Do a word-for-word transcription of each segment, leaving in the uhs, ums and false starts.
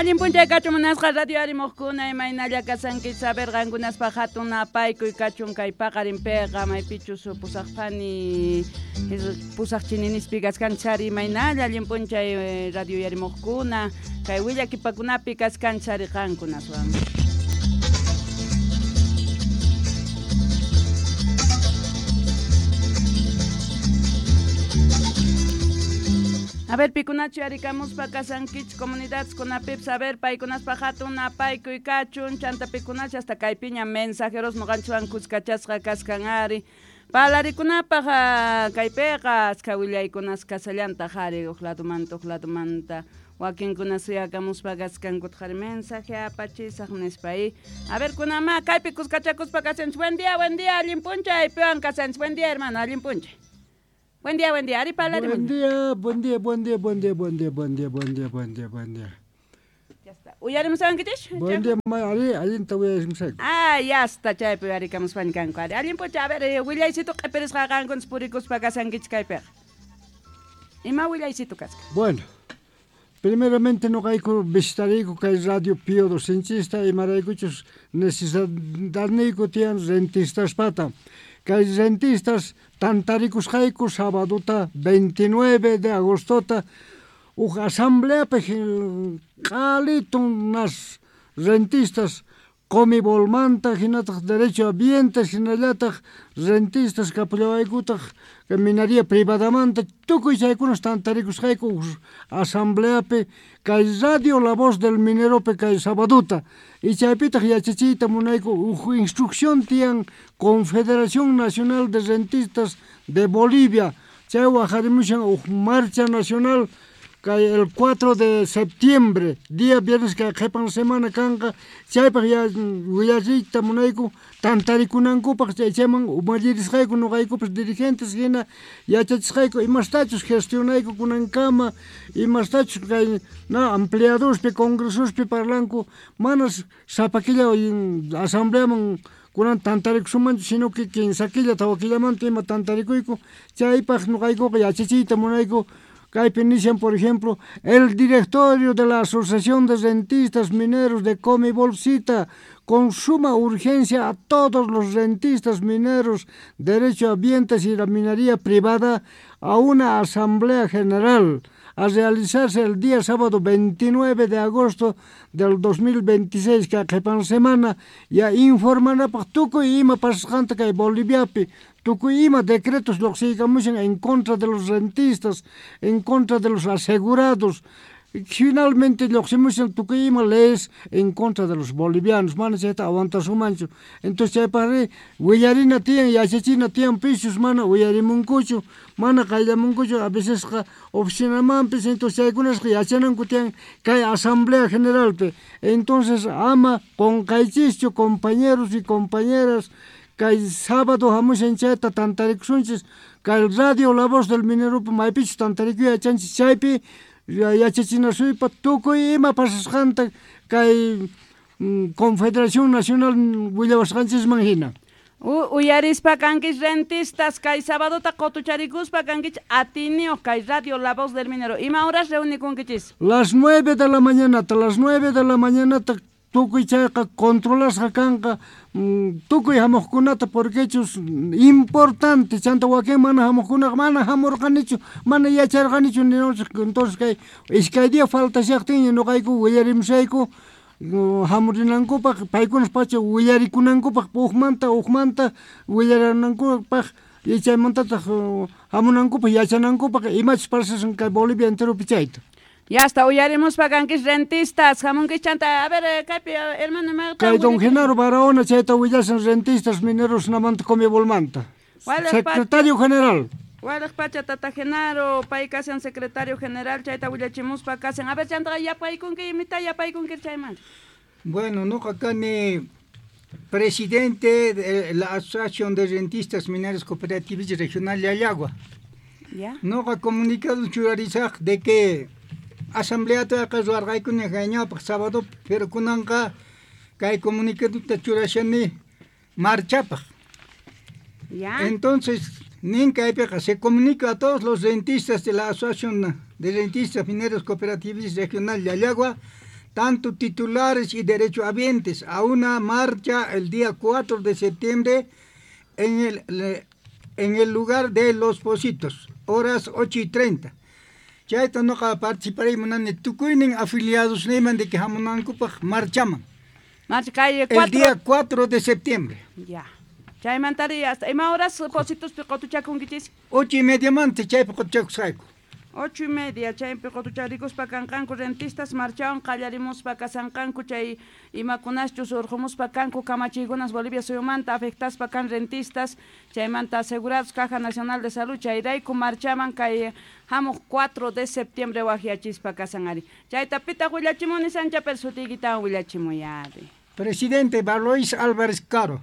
Allin p'unchay kachun munasqa radio arimuqkuna imaynalla kasanki saber qankunaspaq hatun napaykuy kachun kay paqarinpiqa maypichus pusaqpani pusaq chininispi kaskanchari imaynalla allin p'unchay radio yarimuqkuna kay willakipakunapi kaskanchari qankunaswan. A ver, pikunachu yarikamuspa kasankich comunidades kunapipas, a ver, paykunaspa hatun napaykuy kachun, chanta pikunachu hasta kaypiña mensajeros noqanchikwan kuskachasqa kaskan ari. Palarikunapaq kaypiqa askha willaykunas kasallantaq ari huk ladumanta huk ladumanta wakinkuna suyakamuspa kaskankuta ari mensaje apachisaq nispa. A ver, kunama kaypi kuskachakuspa kasanchik. Buen día, buen día, allin p'unchay, piwan kasanchik. Buen día, hermano, allin p'unchay. Buen día, buen día. Ari palari. Buen día, buen día, buen día, buen día, buen día, buen día, buen día, buen día, buen día. Ya está. Uyarimusankichis? Buen día, ari, allinta uyarimusayku. Ah, ya está, chaypi uyarikamuspaña kanku. Ari, allin p'unchay. A ver, willaysitu q'ipirisqa qankunas purikuspa kasankichis kaypiqa. Ima willaysitu kasqa? Bueno, primeramente noqayku visitariyku kay Radio Pío Docenchista imaraykuchus necesidadniyku tiyan rentistaspata. Kay rentistas tantarikusqayku sabadota veintinueve de agostota huk asambleapi q'alitun nas rentistas Comibolmanta hinataq derecho ambiente hinallataq rentistas kapullawaykutaq minería privadamanta tukuy chaykunas tantarikusqayku asambleapi kay Radio La Voz del Mineropi kay sabaduta y chaypitaq yachachiyta munayku huk instrucción tiyan Confederación Nacional de Rentistas de Bolivia chay waqarimushan huk marcha nacional kay el cuatro de septiembre, día viernes kay qhipan semana kanqa, chaypaq ya willachiyta munayku tantarikunankupaq chay chayman umallirisqayku nuqaykupas dirigentes hina yachachisqayku imastachus gestionayku kunankama imastachus kay na ampliadospi congresospi parlanku manas sapa killa asambleaman kunan tantarikusunmanchu sino que kinsa killa tawa killamanta ima tantarikuyku chaypaq nuqaykuqa yachachiyta munayku. Kaypi nishan, por ejemplo, el directorio de la Asociación de Rentistas Mineros de Comibol cita con suma urgencia a todos los rentistas mineros, derechohabientes y la minería privada a una asamblea general a realizarse el día sábado veintinueve de agosto del dos mil veintiséis, que qhipan semana, ya informanapaq tukuy ima pasasqanta kay Boliviapi, tukuy ima decretos lluqsiykamushan en contra de los rentistas, en contra de los asegurados. Finalmente lluqsimushan tukuy ima leyes en contra de los bolivianos, mana chayta aguantasumanchu. Entonces chaypaqri willarina tiyan, yachachina tiyan pishus, mana uyarimunkuchu, mana qayllamunkuchu, a vecesqa oficinamanpis. Entonces chaykunasqa yachananku tiyan kay asamblea generalpi. Entonces ama qunqaychischu compañeros y compañeras, kay sábado hamushan chayta tantarikusunchis, kay Radio La Voz del Mineropi maypichus tantarikuy yachanchis chaypi yachachinasuypa tukuy ima pasasqanta kay Confederación Nacional willawasqanchisman hina. Uyarispa kankis rentistas kay sabadota qutucharikuspa kankich atiniyuq kay Radio La Voz del Minero. Ima horas reunikunkichis? Las nueve de la mañana, hasta las nueve de la mañana tukuy chayqa controlasqa kanqa tukuy hamuqkunata porque chus importante chanta wakin mana hamuqkunaqa mana hamurqanichu mana yacharqanichu ninchik. Entonces kay iskay día faltashaqtinña nuqayku willarimusayku hamurinankupaq paykunas pacha willarikunankupaq hukmanta hukmanta willaranankupaq y chaymantataq hamunankupaq yachanankupaq imachus pasashan kay Bolivia enteropi chayta. Ya está, uyarimuspa kankis rentistas, hamunkis chanta, a ver, kaypi, hermano, kay don Genaro Barahona chayta willashan rentistas mineros namanta Comibolmanta, secretario general. Walaq pacha tata Genaro, pay kasan secretario general, chayta willachimuspa kasan. A ver, chanta, yapaykunki, imita yapaykunki chaymanta. Bueno, nuqa kani presidente de la Asociación de Rentistas Mineros Cooperativos Regional Llallagua. ¿Ya? Nuqa comunicado churarisaq de que asamblea taqa ruwarqaykuna kayñawpaq sábado, pero kunanqa kay comunicadota churashani marchapaq. ¿Ya? Entonces, nin kaypiqa se comunica a todos los rentistas de la Asociación de Rentistas Mineros Cooperativos Regional Llallagua tanto titulares y derechohabientes, a una marcha el día cuatro de septiembre en el, en el lugar de Los Pocitos, horas ocho y treinta. Chayta noqa participaraymunani tukuynin afiliados niman de que hamunankupaq marchaman. Marcha calle El día cuatro de septiembre. Ya. Chaymantari hasta ima horas Pocitos qotuchakunkichis? Ocho y media manta chaypi qotuchakusqayku. Ocho y media, chaypi qotucharikuspa kanqanku rentistas marchawan qallarimuspa kasanqanku chay imakunaschus urqumuspa kanku kamachiykunas Bolivia suyumanta afectaspa kan rentistas chaymanta asegurados Caja Nacional de Salud chayrayku marchaman kay hamuq cuatro de septiembre waqyachispa kasan ari. Chayta pitaq willachimuni Sancha pero sutiykitawan willachimuy ari. Presidente Valois Álvarez Caro.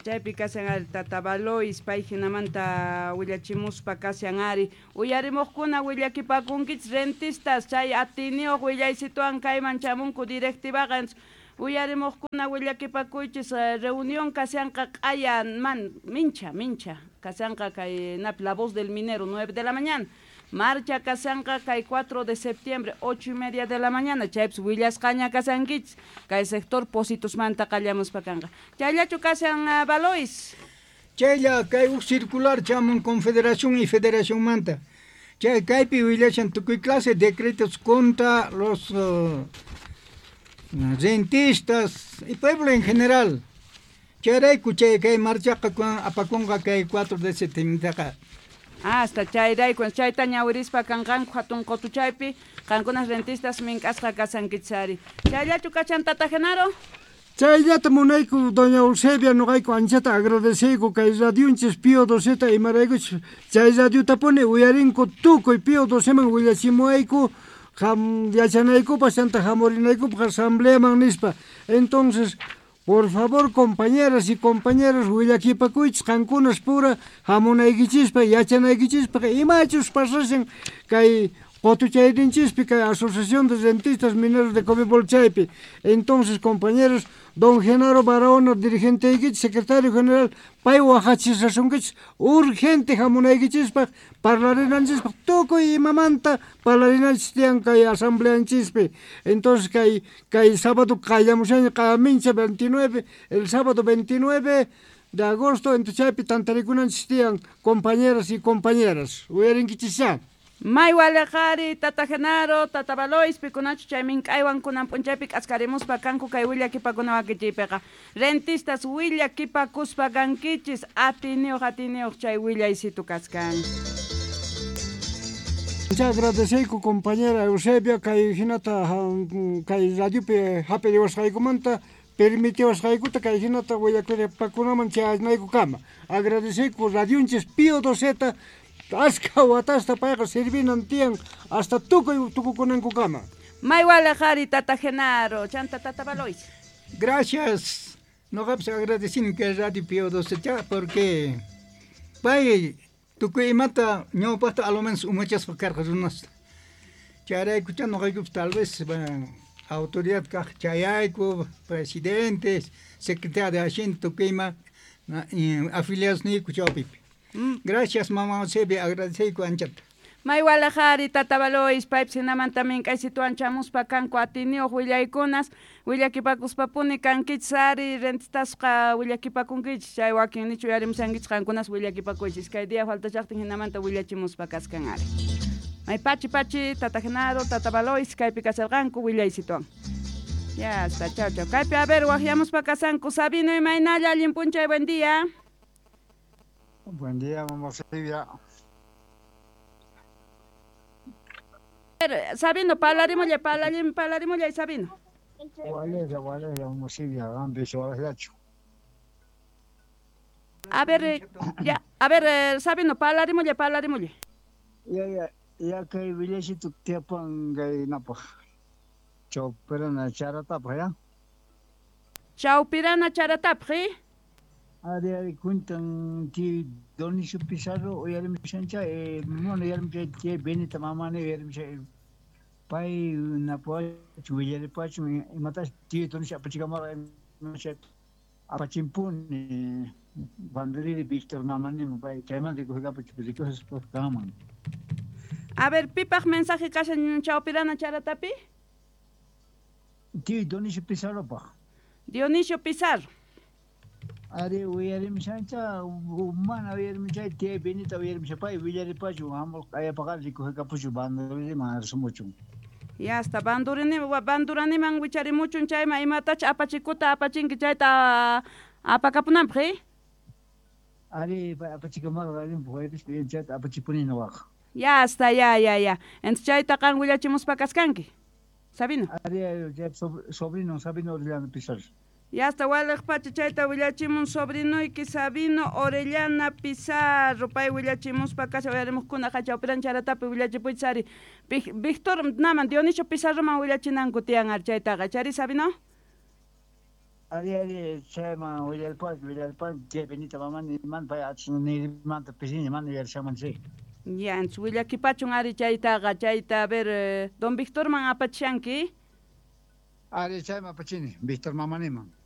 Chaypi kasan ari tata Valois pay hinamanta willachimuspa kasan ari uyarimuqkuna willakipakunkichis rentistas chay atiniyuq willaysituwan kayman chamunku directivaqa uyarimuqkuna willakipakuychis reunión kasanqa q'aya man mincha mincha kasanqa kay napi La Voz del Minero nueve de la mañana marcha kasanqa kay cuatro de septiembre ocho y media de la mañana chaypis willasqaña kasankichis kay sector Pocitos-manta qallamuspa kanqa chayllachu kasan uh, Valois chaylla kay huk circular chamun Confederación y Federación manta chay kaypi willashan tukuy clase decretos contra los uh, rentistas y pueblo en general chayrayku chay kay marchaqa apakunqa kay cuatro de septiembre Hasta chayrayku chayta ñawirispa kanqanku hatun qotuchaypi qankunas rentistas mink'asqa kasankichis chayllachu kachan tata Genaro. Chayllata munayku doña Eusebia noqayku anchata agradeceyku kay radionchis Pío doceta imaraykuchis chay radiotapuni uyarinku tukuy Pío doceman willachimuwayku ham yachanaykupaq chanta hamurinaykupaq asambleaman nispa. Entonces por favor, compañeras y compañeros, willakipakuychis qankunas pura hamunaykichispa yachanaykichispa imachus pasashan kay qotuchayninchispi kay Asociación de Rentistas Mineros de Comibol chaypi. Entonces, compañeros, don Genaro Barahona, dirigente secretario general, pay waqachishasunkichis urgente hamunaykichispaq parlarinanchispaq tukuy imamanta parlarinanchis tiyan kay asambleanchispi. Entonces kay kay sábado qallamushaña qamincha veintinueve, el sábado veintinueve de agosto entonces chaypi tantarikunanchis tiyan compañeras y compañeras. Uyarinkichis. May waleqari tata Genaro, tata Valois, pikunachu chay mink'aywan kunan p'unchaypi k'askarimuspa kanku kay willakipakuna wakichiypiqa. Rentistas willakipakuspa kankichis atiniyuq atiniyuq chay willaysitu kaskan. Muchas agradeceyku compañera Eusebia kay hinata kay radiopi hap'iriwasqaykumanta permitiwasqaykuta kay hinata willakunaman chayanaykukama. Agradeceyku radionchis Pío doceta aska watasta payqa servinan tiyan hasta tukuy tukukunankukama. May waleqari tata Genaro, chanta tata Valois. Gracias. Noqapis agradecini kay radio Pío doce porque pay tukuy imata ñawpaqta a lo menos umachaspa karqa runasta. Chayraykucha noqaykupis tal vez autoridad kaq chayayku, presidentes, secretario de Hacienda tukuy ima afiliados niyku chawpipi. Gracias, mamá Eusebia, agradeceyku anchata. May walaqari tata Valois, paypis hinamanta mink'aysituwan chamuspa kanku atiniyuq willaykunas willakipakuspapuni kankichis ari rentistasqa willakipakunkichis chay wakinnichu uyarimushankichis qankunas willakipakuychis kay día faltachaqtin hinamanta willachimuspa kaskan ari. May pachi pachi tata Genaro, tata Valois kaypi kasarqanku willaysituwan. Ya está, chao chao. Kaypi a ver waqyamuspa kasanku Sabino imaynalla allin p'unchay, buen día. Buen día, mamá Silvia. Sabino, parlarimulla, parlarim, parlarimulla, Sabino. Waleja, waleja, mamá Silvia, A ver, ya, a ver, Sabino, parlarimulla, parlarimulla. Ya, ya, ya kay villachito tiapan kay napaj. Chawpirana charatapaj, ya. Chawpirana charatapaj, ¿eh? Ari ari cuentan que Donicio Pizarro uyarimushancha eh bueno uyarimusha que Benita mamani uyarimusha pay napuach willaripach imatash tío Donicio apachikamara apachimpuni Vandriri Víctor mamani pay chaymanta rikuqapach rikuqaspa kaman. A ver, pipaq mensaje kashan chawpirana charatapi? Tío Dionisio Pizarropaq. Dionisio Pizarro. Ari uyarimushancha mana uyarimushay tía Benita uyarimusha pay willaripachu hamul q'ayapaqari rikuhakapuchu banduriniman arsumuchun. Ya hasta bandurini banduraniman wicharimuchun chayman imatacha apachikuta apachinki chayta apakapunanpaq eh? Ari pay apachikamarqa allinpaq chayta apachipuni nuqaqa. Ya hasta ya ya ya. Entonces chayta qan willachimuspa kaskanki. Sabino. Ari chay sobrino Sabino Orellana Pizarro. Ya hasta waliq pacha chayta willachimun sobrinuyki Sabino Orellana Pizarro pay willachimuspa kasha uyarimuqkuna chawpiran charatapi willachipuychis ari Víctor naman Dionisio Pizarroman willachinanku tiyan ari chaytaqa chari Sabino. Ari ari chayman willarpan willarpan chay Benita mamani man pay achna pisiña mana uyarishanman chay. Ya, entonces willakipachun ari chaytaqa chayta a ver eh, don Víctorman apachishanki. Ari chayman apachini Víctor mamaniman.